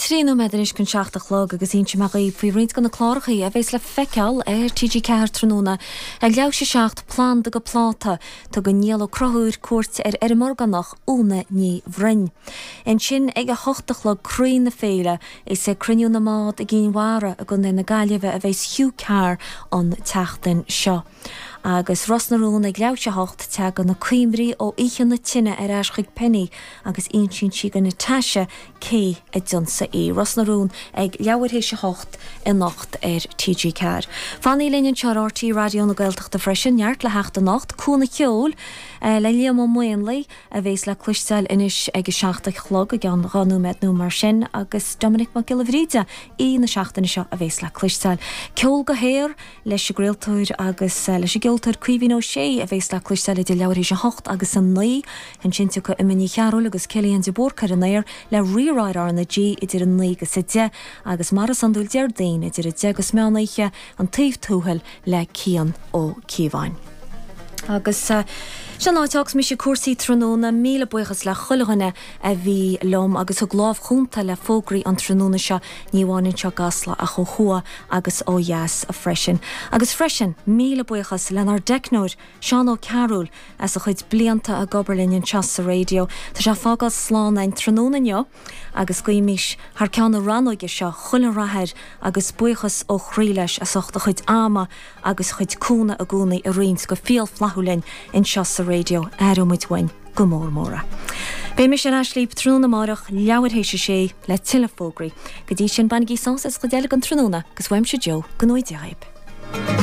3 nóiméad anois chun 7 a chlog agus inseoidh mé dhaoibh faoi roinnt de na clárachaí a bheas le feiceáil ar TG4 tráthnóna ag leathuair théis 7, Planda go Pláta. Tugann Niall Ó Conchúir cuairt ar fheirm orgánach Úna Ní Bhroin. Ansin ag 8 a chlog Croí na Féile, is ag Cruinniú na mBád i gCinn Mhara i gContae na Gaillimhe a bheas Hugh Carr an tseachtain seo. Agus Ros na Rún ag leathuair théis 8, tagann na cuimhní ó oíche na tine ar ais chuig Penny agus insíonn sí do Natasha cé a d'ionsaigh í. Ros na Rún ag leathuair théis 8 anocht ar TG4. Fanaigí linn anseo ar RTÉ Raidió na Gaeltachta freisin, neart le theacht anocht, Cuan an Cheoil le Liam Ó Maonlaí a bhéas le cloisteáil anois ag a 7 a chlog, i gceann 2 nóiméad nó mar sin, agus Doiminic Mac Giolla Bhríde, aoi na seachtaine seo a bhéas le cloisteáil. Ceol go haer leis an gcraoltóir agus leis an gceoltóir Caoimhín Ó Sé a bhéas le cloisteáil idir leathuair théis a hocht agus a naoi. Ansin tiocfaidh Emma Ní Chearúil agus Cillian de Búrca ar an aer le Rí-Rá ar RnaG idir a naoi agus a deich agus mar is iondúil Déardaoin idir a deich agus meán oíche, An Taobh Tuathail le Cian Ó Cíobháin. Agus sin an áit a fhágfas mise cúrsaí tráthnóna. Míle buíochas le chuile dhuine a bhí liom agus thug lámh chúnta le fógraí an tráthnóna seo, ní amháin anseo i gCasla ach ó thuaidh agus ó dheas freisin. Agus freisin, míle buíochas lenár dteicneoir, Seán Ó Cearúil, as a chuid blianta ag obair linn anseo sa raidió. Tá sé ag fágáil slán againn tráthnóna inniu agus guímis thar ceann na rannóige seo chuile rath air agus buíochas ó chroí leis as ucht a chuid ama agus a chuid cúnamh i gcónaí a roinnt go fial flaithiúil linn anseo sa raidió. Aireoidh muid uainn go mór mór é. Beidh mise ar ais libh tráthnóna amárach, leathuair théis a sé, le tuilleadh fógraí. Go dtí sin, bainigí sásamh as an chuid eile den tráthnóna agus uaimse Joe, go ngnóthaí Dia dhaoib.